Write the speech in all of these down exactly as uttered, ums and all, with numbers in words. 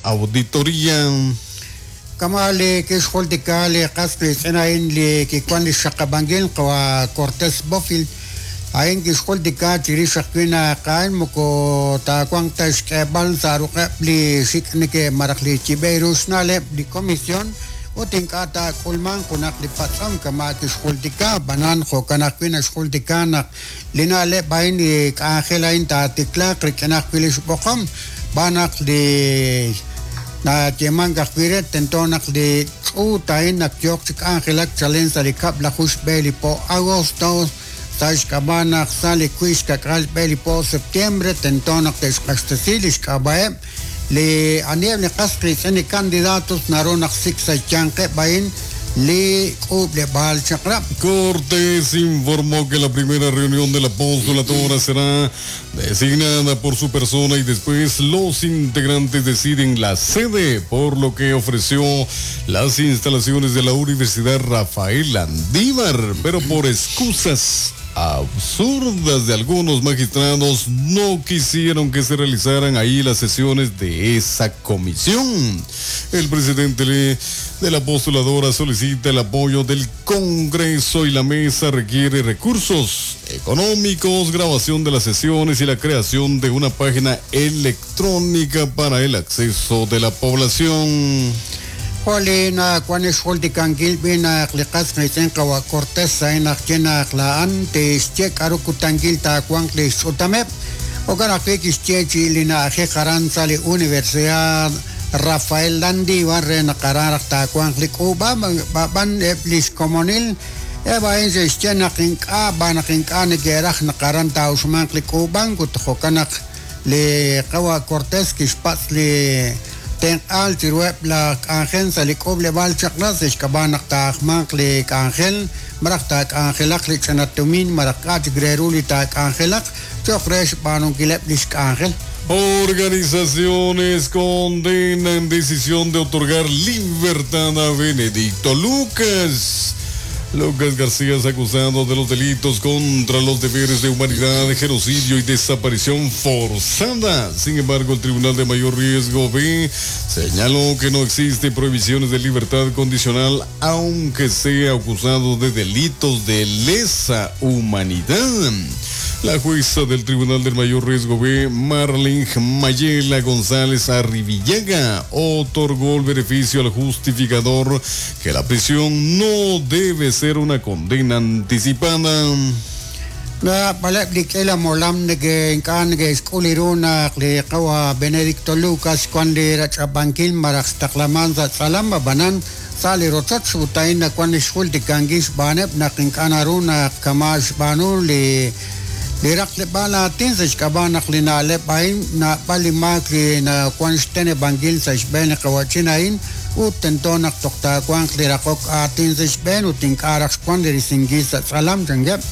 auditoría. Kama' li kixjultika li qas qiitz'in a'in li kiwan li xxaqab'ankil qawa' Cortés Bofill a'in kixjultika chirix ajwi' naq a'in moko taawanq ta xk'eeb'al sa' ruq'eb' li xik' neke malaj li yib'e ru xna'leb' li comisión ut ink'a' taak'ulmanq junaq li patz'om kama' kixjultika b'anan jo'kan ajwi' naxjultika naq li na'leb' a'in li k'anjel a'in taatiklaaq rik'in ajwi' li xb'oqom b'an naq li nayeemank ajwi' re tento naq li ch'uut a'in naq yooq chi k'anjelak chalen sa' li kab'laju xb'e li po agosto sa' xk'ab'a' naq sa' li wiib' xka'k'aal xb'e li po septiembre tento naq te'xq'axtesi li xk'ab'a'eb' li aniheb' li qas qiitz'in li candidatos naru naq sik sa' xyanqeb' a'in li k'uub'leb'aal chaq'rab'. Cortés informó que la primera reunión de la postuladora será designada por su persona y después los integrantes deciden la sede, por lo que ofreció las instalaciones de la Universidad Rafael Landívar, pero por excusas absurdas de algunos magistrados no quisieron que se realizaran ahí las sesiones de esa comisión. El presidente de la postuladora solicita el apoyo del Congreso y la mesa requiere recursos económicos, grabación de las sesiones y la creación de una página electrónica para el acceso de la población. Jo' li nawan xjultikankil b'i naq li qas qiitz'in qawa' Cortés a'in naq ye naq la'an tixye k'aru kutankil taawanq li xch'utameb' jo'kan ajwi' kixye chi li na'ajej aran sa' li Universidad Rafael Landívar re naq aran raj taawanq li k'uub'a b'an eb' li xkomonil eb' a'in xe'xye naq ink'a' b'an naq ink'a' neke'raj naq aran taa'uxmanq li k'uub'ank ut jo'kan naq li qawa' Cortés kixpatz' li tenq'aal chiruheb' laj k'anjel sa' li k'uub'leb'aal chaq'rab' sa' xk'ab'a' naq taajmanq li k'anjel malaj taak'anjelaq li ch'ina tumin malaj k'a' chik re ru li taak'anjelaq cho'q re xb'aanunkileb' li xk'anjel. Organizaciones condenan decisión de otorgar libertad a Benedicto Lucas. Lucas García es acusado de los delitos contra los deberes de humanidad, genocidio y desaparición forzada. Sin embargo, el Tribunal de Mayor Riesgo B señaló que no existe prohibiciones de libertad condicional, aunque sea acusado de delitos de lesa humanidad. La jueza del Tribunal del Mayor Riesgo B, Marlene Mayela González Arribillaga, otorgó el beneficio al justificador que la prisión no debe ser una condena anticipada. Naab'aleb' li k'ila molam neke ink'a' neke'xk'ul ru naq li qawa' Benedicto Lucas wan li rach'ab'ankil malaj xtaqlaman sa' tz'alam ab'anan sa' li rochoch ut a'in nawan li xjultikankil xb'aaneb' naq ink'a' naru naq kama' xb'aanu li li raqleb'aal aatin sa' xk'ab'a' naq li na'leb' a'in naab'al li maak li nawan xteneb'ankil sa' xb'een li qawa'chin a'in ut tento naq toj taawanq li raqok aatin sa' xb'een ut ink'a' raj xwan li risinkil sa' tz'alam chankeb'.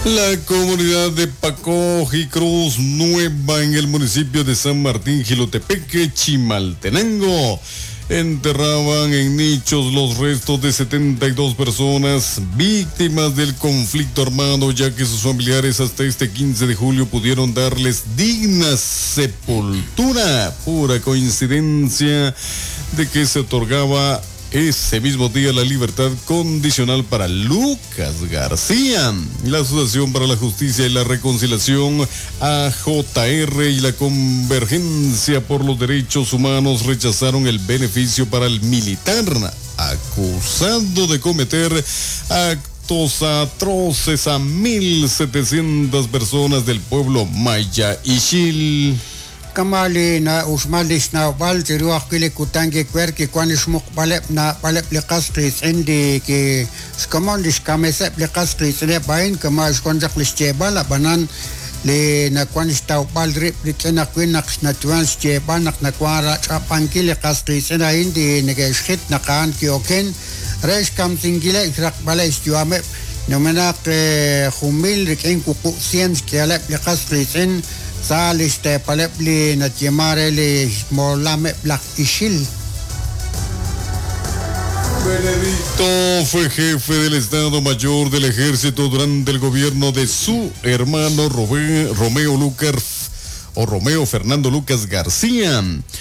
La comunidad de Pacoj y Cruz Nueva en el municipio de San Martín Jilotepeque, Chimaltenango, enterraban en nichos los restos de setenta y dos personas víctimas del conflicto armado, ya que sus familiares hasta este quince de julio pudieron darles digna sepultura. Pura coincidencia de que se otorgaba ese mismo día la libertad condicional para Lucas García. La Asociación para la Justicia y la Reconciliación, A J R, y la Convergencia por los Derechos Humanos rechazaron el beneficio para el militar acusado de cometer actos atroces a mil setecientas personas del pueblo maya Ixil. Kama' li na'uxmal li xnawb'al chiru ajwi' li kutan kikwer kiwan li xmuqb'aleb' naab'aleb' li qas qiitz'in li ki xkomon li xkameseb' li qas qiitz'ineb' a'in kama' xwan chaq li xyeeb'al ab'anan li nawan xtawb'al rib' rik'in ajwi' naq xnatuan xyeeb'al naq nawan rach'ab'ankil li qas qiitz'in a'in li neke'xjit naq a'an ki'oken re xkamsinkileb' xraqb'aleb' xyu'ameb' numenaq jun mil rik'in wuqub' cien xk'ihaleb' li qas qiitz'in sa' li xteepaleb' li natyemare li xmolameb' laj Ixil. Benedicto fue jefe del Estado Mayor del Ejército durante el gobierno de su hermano Romeo Lucas o Romeo Fernando Lucas García.